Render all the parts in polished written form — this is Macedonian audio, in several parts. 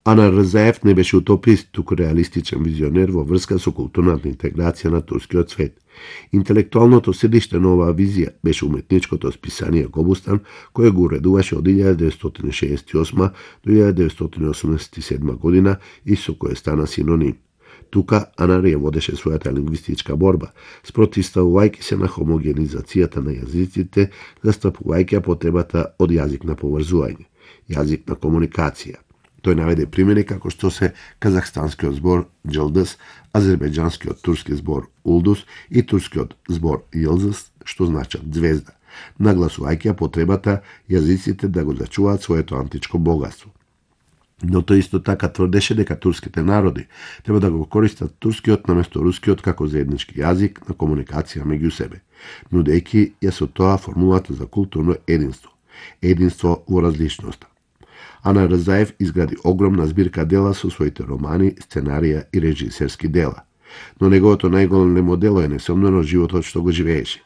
Ана Рзаев не беше утопист, туку реалистичен визионер во врска со културната интеграција на турскиот свет. Интелектуалното седиште на оваа визија беше уметничкото списание Кобустан, кое го уредуваше од 1968 до 1987 година и со кое стана синоним. Тука Ана ја водеше својата лингвистичка борба, спротивставувајќи се на хомогенизацијата на јазиците, застапувајќи потребата од јазик на поврзување, јазик на комуникација. Тој наведе примери како што се казахстанскиот збор Джилдыз, азербејџанскиот турски збор Улдус и турскиот збор Йылдыз, што значат звезда, нагласувајќи потребата јазиците да го зачуваат своето античко богатство. Но тој исто така тврдеше дека турските народи треба да го користат турскиот наместо рускиот како заеднички јазик на комуникација меѓу себе, нудејќи ја со тоа формулата за културно единство, единство во различноста. Ана Рзаев изгради огромна збирка дела со своите романи, сценарија и режисерски дела. Но неговото најголемо дело е несомнено животот што го живееше.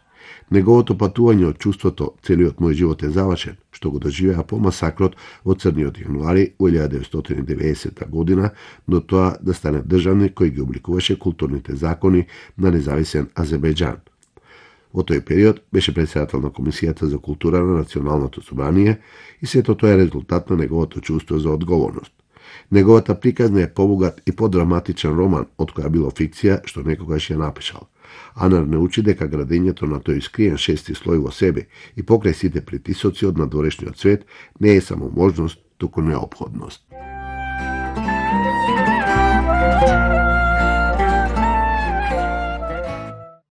Неговото патување од чувството "целиот мој живот е завршен", што го доживеа по масакрот во Црниот јануари во 1990 година, до тоа да стане државник кој ги обликуваше културните закони на независен Азербејџан. Во тој период беше председател на Комисијата за култура на Националното собрание и сето тоа е резултат на неговото чувство за одговорност. Неговата приказна е побогат и подраматичен роман од која било фикција што некогаш ја напишал. Анар научи дека градењето на тој скриен шести слој во себе и покрај сите притисоци од надворешниот свет не е само можност, туку неопходност.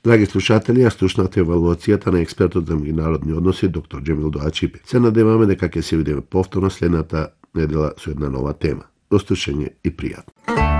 Драги слушатели, ја слушнате евалуацијата на експертот за меѓународни односи доктор Џемил Доачипи. Се надеваме дека ќе се видиме повторно следната недела со една нова тема. До слушање и пријатно.